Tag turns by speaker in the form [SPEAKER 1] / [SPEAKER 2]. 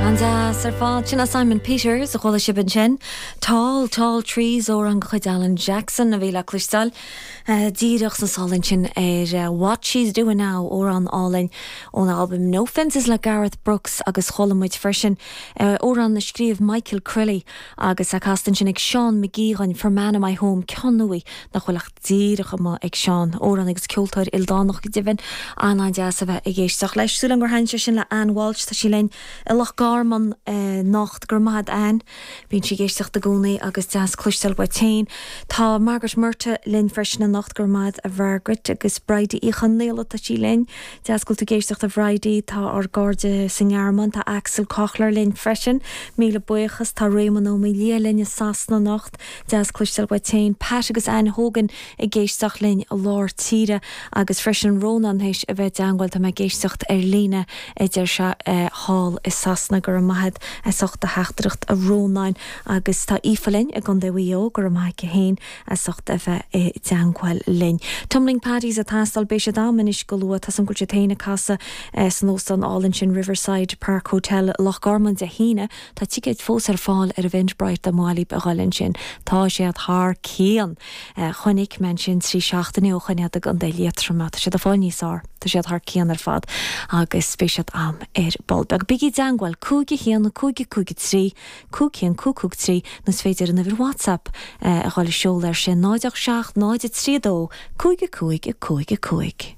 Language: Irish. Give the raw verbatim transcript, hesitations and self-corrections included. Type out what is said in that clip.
[SPEAKER 1] An-deas ar fad sin Simon Peters a chuala sibh ansin. Tall tall trees amhrán de chuid Alan Jackson a bhí le cloisteáil uh, díreach sna sála sin ar uh, What She's Doing Now amhrán álainn ón album No Fences le Garth Brooks agus chuala muid freisin uh, amhrán a scríobh Michael Crilly agus a chas ansin ag Sean McGeehan for Man in My Home ceann nach bhfuil ach díreach amuigh ag Sean amhránaí agus ceoltóir ildánach go deimhin an-deas a bheith ag éisteacht leis Súil gur thaitin sé sin le Ann Walsh tá sí linn i Loch Garman anocht go raibh maith Ann, Bíonn sí ag éisteacht i gcónaí agus deas cloisteáil uait féin. Tá Margaret Murta linn freisin anocht go raibh maith a Mhargaret agus Bridie Uí Chonaola tá sí linn. Deas go bhfuil tú ag éisteacht a Bhridie tá ár gcairde sa nGearmáin tá Axel Kochler linn freisin, Míle buíochas tá Raymond Ó Lia linn i Sasana anocht, Deas cloisteáil uait féin Pat agus Ann Hogan ag éisteacht linn i lár tíre agus freisin Rónán théis a bheith i dteagmháil tá mé ag éisteacht ar líne idir se thall i Sasana go raibh maith as ucht do theachtaireacht a Rónáin agus tá Aoife linn i gContae Mhaigh Eo go raibh maith féin as ucht a bheith i dteagmháil linn. Tumbling Paddies ag teastáil beidh siad anois go luath tá an bhfuil siad féin ag casadh san óstán álainn sin Riverside Park Hotel Loch Garman Dé hAoine Tá ticéid fós ar fáil ar Eventbrite má libh a ghabháil ansin Tá siad thar cionn. Chonaic mé sin trí seachtaine ó shin ag an Liatroma Tá siad a fáil níos fearr Tá siad thar cionn ar fad agus beidh siad am ar ball. Beag bígí i dteagmháil cúig a haon cúig cúig trí, cúig haon cúig cúig trí nó is féidir an uimhir WhatsApp a ghabháil a seoladh ar sin náid seacht náid trí dó, cúig cúig cúig cúig.